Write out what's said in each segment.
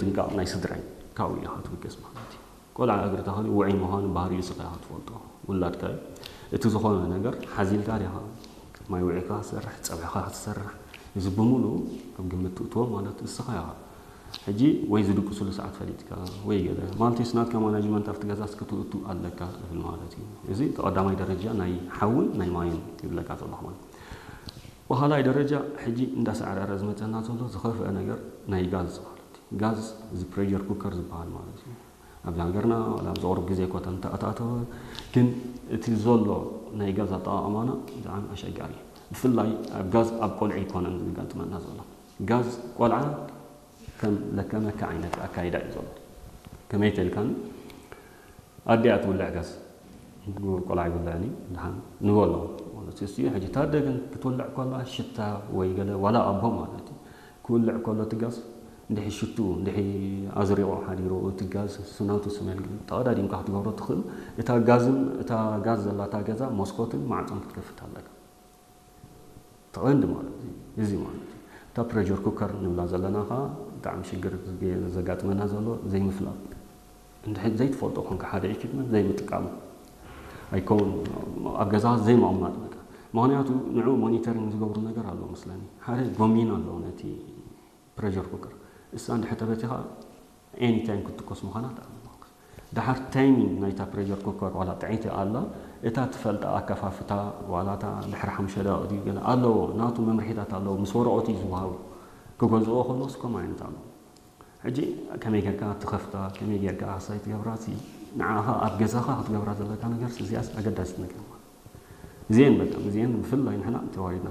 ጥንቃቕ ናይ ስድራ እዩ። ካብኡ ኢኻ ትብገስ ማለት እዩ። ቆልዓ እግሪ ተኸሊ ውዑይ ምዃኑ ባህሪኡ ስኻ ኢኻ ትፈልጦ። ውላድካ እዩ። እቲ ዝኾነ ነገር ሓዚልካ ዲኻ? ማይ ውዒካ ትሰርሕ፣ ጸብሕኻ ትሰርሕ። እዚ ብምሉኡ ኣብ ግምት ትእትዎ ማለት እስኻ ኢኻ። ሕጂ ወይ ዝድቅስሉ ሰዓት ፈሊጥካ ወይ ገለ ማለት እዩ። ናትካ ማናጅመንት ኣብቲ ገዛስ ክትእቱ ኣለካ እብል ማለት እዩ። እዚ እቲ ቀዳማይ ደረጃ ናይ ሓውን ናይ ማይን ይብለካ ዘለኹ ማለት እዩ። ብኻልኣይ ደረጃ ሕጂ እንዳሳዕረረ ዝመጸና ዘሎ ዝኸፍአ ነገር ናይ ጋዝ ማለት እዩ። ጋዝ እዚ ፕሬሸር ኩከር ዝበሃል ማለት እዩ። ኣብዚ ሃገርና ዋላ ኣብዚ ቁሩብ ግዜ እኳ እንተኣታተወ፣ ግን እቲ ዘሎ ናይ ጋዝ ኣጠቓቕማና ብጣዕሚ ኣሸጋሪ እዩ። ብፍላይ ኣብ ጋዝ ኣብ ቆልዑ ኣይኮነን ዘጋጥመና ዘሎ። ጋዝ ቆልዓ ከም ለከመካ ዓይነት ኣካይዳ እዩ ዘሎ። ከመይ ተልካን ኣዲኣ ትውልዕ ጋዝ ቆልዓ ይውልዕኒ ድሓን ንበሎ ማለት እዩ። ሕጂ ታደ ግን ክትውልዕ ከላ ሽታ ወይ ገለ ዋላ ኣቦ ማለት እዩ ክውልዕ ከሎ እቲ ጋዝ እንድሒ ሽቱ እንድሒ ኣዝሪቑ ሓዲሩ እቲ ጋዝ ስናቱ ስሜል ግን ተቐዳዲምካ ክትገብሮ ትኽእል። እታ ጋዝን እታ ጋዝ ዘላታ ገዛ መስኮትን ማዕፆን ክትከፍት ኣለካ። ተቐንዲ ማለት እዩ። እዚ ማለት እዩ። እታ ፕሬሸር ኩከር ንብላ ዘለና ኸዓ ብጣዕሚ ሽግር ዘጋጥመና ዘሎ ዘይምፍላጥ። እንድሕር ዘይትፈልጦ ኮንካ ሓደ ኢኩፕመንት ዘይምጥቃሙ ኣይከውን ኣብ ገዛ ዘይምቕማጥ በቃ። ምኽንያቱ ንዑ ሞኒተሪንግ ዝገብሩ ነገር ኣሎ መስለኒ። ሓደ ጎሚን ኣሎ ነቲ ፕሬሸር ኩከር። እሳ እንድሕር ተበቲኻ ኤኒ ታይም ክትትኮስ ምዃና ተኣምኖ። ድሓር ታይሚንግ ናይታ ፕሬሸር ኩከር ዋላ ጥዕይቲ ኣላ እታ ትፈልጣ ኣከፋፍታ ዋላ እታ ድሕሪ ሓሙሽተ ደቂቕ ድዩ ገለ ኣለዎ ናቱ መምርሒታት ኣለዎ ምስ ወረቐቱ እዩ ዝወሃቡ። ክገዝኦ ከሎስ ከምኡ ዓይነት ኣሎ። ሕጂ ከመይ ጌርካ ትኸፍታ ከመይ ጌርካ ኣሳይ ትገብራ ሲ ንዓኻ ኣብ ገዛኻ ክትገብራ ዘለካ ነገር እዚኣስ ኣገዳሲት ነገር ማለት እዚአን በጣም እዚአን ብፍላይ ንሕና ተዋሪድና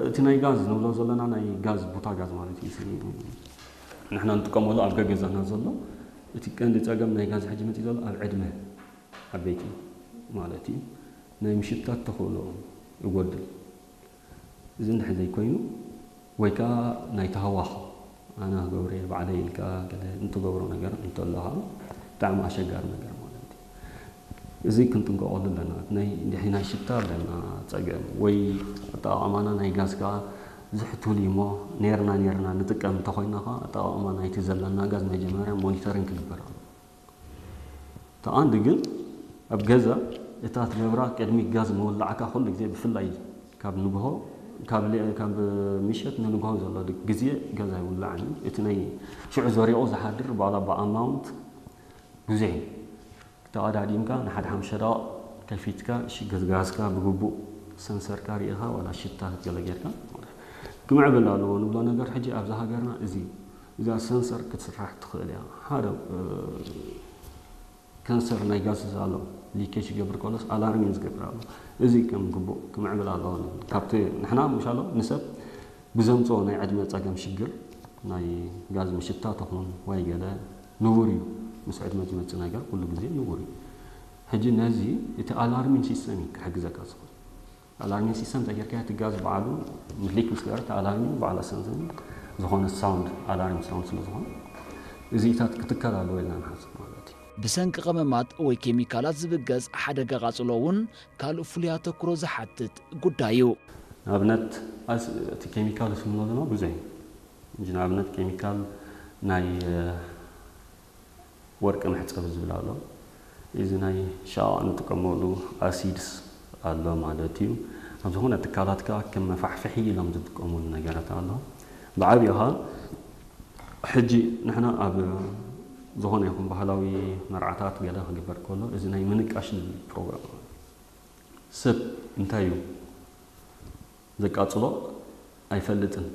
እቲ ናይ ጋዝ ንብሎ ዘለና ናይ ጋዝ ቡታ ጋዝ ማለት እዩ። ንሕና ንጥቀመሉ ኣብ ገገዛና ዘሎ እቲ ቀንዲ ጸገም ናይ ጋዝ ሕጂ መፂ ዘሎ ኣብ ዕድመ ዓበይቲ ማለት እዩ ናይ ምሽታት ተኽእሎ ይጎድል። እዚ እንድሕር ዘይኮይኑ ወይ ከዓ ናይ ተሃዋኽ ኣነ ክገብረ ባዕለ ኢልካ ገለ እንትገብሮ ነገር እንተሎ ከዓ ብጣዕሚ ኣሸጋሪ ነገር ማለት እዩ። እዚ ክንጥንቀቐሉ ኣለና። ናይ ድሕሪ ናይ ሽታ ኣለና ፀገም ወይ ኣጠቓቕማና ናይ ጋዝ ከዓ ዝሕቱል እዩ እሞ ኔርና ኔርና ንጥቀም እንተኮይና ከዓ ኣጠቓቕማ ናይቲ ዘለና ጋዝ መጀመርያ ሞኒተሪንግ ክግበር ኣሎ። ተቐንዲ ግን ኣብ ገዛ እታ ትገብራ ቅድሚ ጋዝ ምውላዕካ ኩሉ ግዜ ብፍላይ ካብ ንግሆ ካብ ምሸት ንንግሆ ዘሎ ግዜ ገዛ ይውላዕን እዩ። እቲ ናይ ሽዑ ዘሪቑ ዝሓድር ባላ ብኣማውንት ብዙሕ እዩ። ተቐዳዲምካ ንሓደ ሓምሽተ ደቕ ከፊትካ ሽግር ጋዝካ ብግቡእ ሰንሰርካ ርኢኻ ዋላ ሽታ ክትገለ ጌርካ ክምዕብል ኣለዎ ንብሎ ነገር ሕጂ ኣብዛ ሃገርና እዚ እዛ ሰንሰር ክትስራሕ ትኽእል እያ። ሓደ ከንሰር ናይ ጋስ ኣሎ ሊኬጅ ይገብር ከሎስ ኣላርሚን ዝገብር ኣሎ። እዚ ከም ግቡእ ክምዕብል ኣለዎ ንብል። ካብቲ ንሕና ምሻሎ ንሰብ ብዘምፅኦ ናይ ዕድመ ፀገም ሽግር ናይ ጋዝ ምሽታ ተኾን ወይ ገለ ንቡር እዩ። ምስ ዕድመ ዝመፅእ ነገር ኩሉ ግዜ ንቡር እዩ። ሕጂ ነዚ እቲ ኣላርሚን ሲስተም እዩ ክሕግዘካ ዝኽእል። ኣላርሚን ሲስተም ተጌርካ እቲ ጋዝ በዓሉ ምድሊክ ምስ ገበረ እቲ ኣላርሚን በዓል ኣሰንዘን ዝኾነ ሳውንድ ኣላርም ሳውንድ ስለ ዝኾነ እዚታት ክትከል ኣለዎ ኢልና ንሓስብ ማለት እዩ። ብሰንኪ ቀመማት ወይ ኬሚካላት ዝብገስ ሓደጋ ቃጽሎ እውን ካልእ ፍሉይ ኣተኩሮ ዝሓትት ጉዳይ እዩ። ንኣብነት እቲ ኬሚካል ስምሎ ድማ ብዙሕ እዩ። ንኣብነት ኬሚካል ናይ ወርቂ መሕፀቢ ዝብል ኣሎ። እዚ ናይ ሻቕ እንጥቀመሉ ኣሲድስ ኣሎ ማለት እዩ። ኣብ ዝኾነ ትካላት ከዓ ከም መፋሕፍሒ ኢሎም ዝጥቀሙሉ ነገራት ኣሎ። ብዓብዩ ከዓ ሕጂ ንሕና ኣብ ዝኾነ ይኹን ባህላዊ መርዓታት ገለ ክግበር ከሎ እዚ ናይ ምንቃሽ ዝብል ፕሮግራም ኣሎ። ሰብ እንታይ እዩ ዘቃጽሎ ኣይፈልጥን።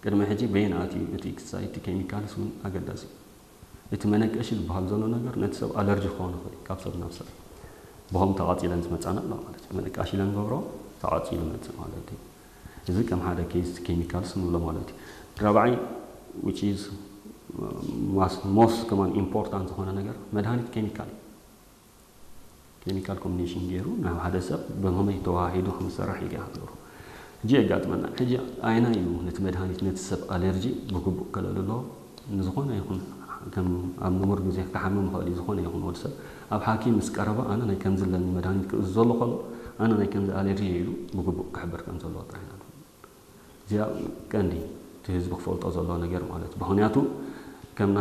ቅድሚ ሕጂ በየን ኣትዩ እቲ ኤክሳይት ኬሚካልስ እውን ኣገዳሲ እዩ። እቲ መነቀሺ ዝበሃል ዘሎ ነገር ነቲ ሰብ ኣለርጂ ክኸውን ይኽእል እዩ ካብ ሰብ ናብ ሰብ። ብኸም ተቓጺለን ዝመጻና ኣሎ ማለት እዩ። መነቃሺ ኢለን ገብሮ ተቓጺሉ መጽእ ማለት እዩ። እዚ ከም ሓደ ኬስ ኬሚካልስ ንብሎ ማለት እዩ። ራብዓይ which is most ከማን ኢምፖርታንት ዝኾነ ነገር መድሃኒት ኬሚካል እዩ። ኬሚካል ኮምቢኔሽን ገይሩ ናብ ሓደ ሰብ ብኸመይ ተዋሂዱ ከም ዝሰርሕ ኢልካ ክትገብሮ። ሕጂ የጋጥመና። ሕጂ ኣየናይ እዩ ነቲ መድሃኒት ነቲ ሰብ ኣለርጂ ብግቡእ ከለሉ ኣለዎ? ንዝኾነ ይኹን ከም ኣብ ንቡር ግዜ ክሓምም ይኽእል እዩ። ዝኾነ ይኹን ወዲ ሰብ ኣብ ሓኪም ምስ ቀረበ ኣነ ናይ ከምዚ ኣለኒ መድሃኒት ክእዝዘሉ ከሎ ኣነ ናይ ከምዚ ኣለርጂ ኢሉ ብግቡእ ክሕብር ከም ዘለዎ ጥራሕ ኢና። እዚኣ ቀንዲ እቲ ህዝቢ ክፈልጦ ዘለዎ ነገር ማለት ምኽንያቱ ከም ናይ